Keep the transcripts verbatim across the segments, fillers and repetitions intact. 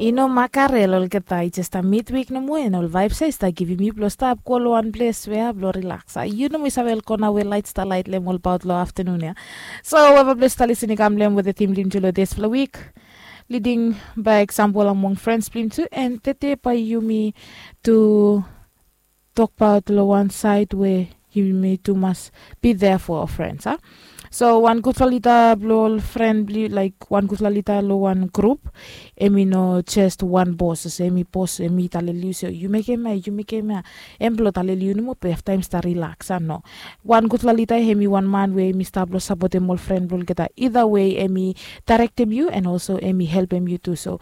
I no makarel olgeta, i jes a midwik nomo, en ol vaib se i stap givim yu blong stap go long wan ples we blong rilaks. A yu nomo i save ol kona we lait stap lait long ol paot long aftanun ya. So weva ples stap lisin i kam long em wetem tim blong yu long dispela wik, leading by example among friends blong yu tu, and tete bae yumi tu tokbaot long wan saed we yumi tu mas be there for our friends, a? So wan gutpela lida blong ol fren blong yu, laik wan gutpela lida long wan grup, em i no jes wan bos olsem em i bos, em i taleli yu se yu mekem ya, yu mekem ya. Em blong taleli yu nomo be afta em stap rilaks, a? No. Wan gutpela lida em i wan man we em i stap blong sapotem ol fren blong olgeta. Ida we em i daerektem yu, en olso em i helpem yu tu. So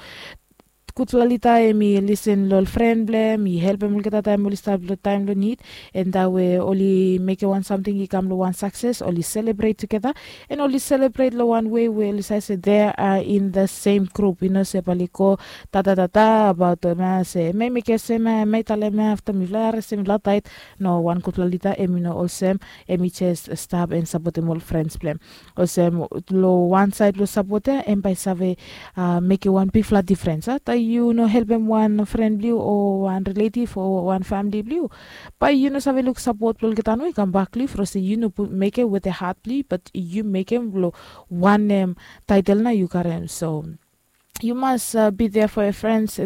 gutpela lida em i lisin long ol fren blong em, i helpem olgeta taem oli stap long taem long nid. En taem we oli mekem wan samting i kam long wan sakses, oli selebret tugeta. En oli selebret long wan wei we oli save se they are in the same group, i no se bae oli go tatatata abaot em ya se em ya i mekem olsem ya, em ya i talem ya, afta mifala i haresem mifala taet. No, wan gutpela lida em i no olsem. Em i jes stap en sapotem ol frens blong em. Olsem, long wan saed blong sapot ya em bae i save mekem wan bigfala difrens, a? Taem yu no helpem wan fren blong yu o wan riletiv o wan famili blong yu, bae yu no save luk sapot blong olgeta nomo i kambak long yu from se yu no mekem wetem hat blong yu, bat yu mekem long wanem taetel nao yu karem. So yu mas be there for your friends.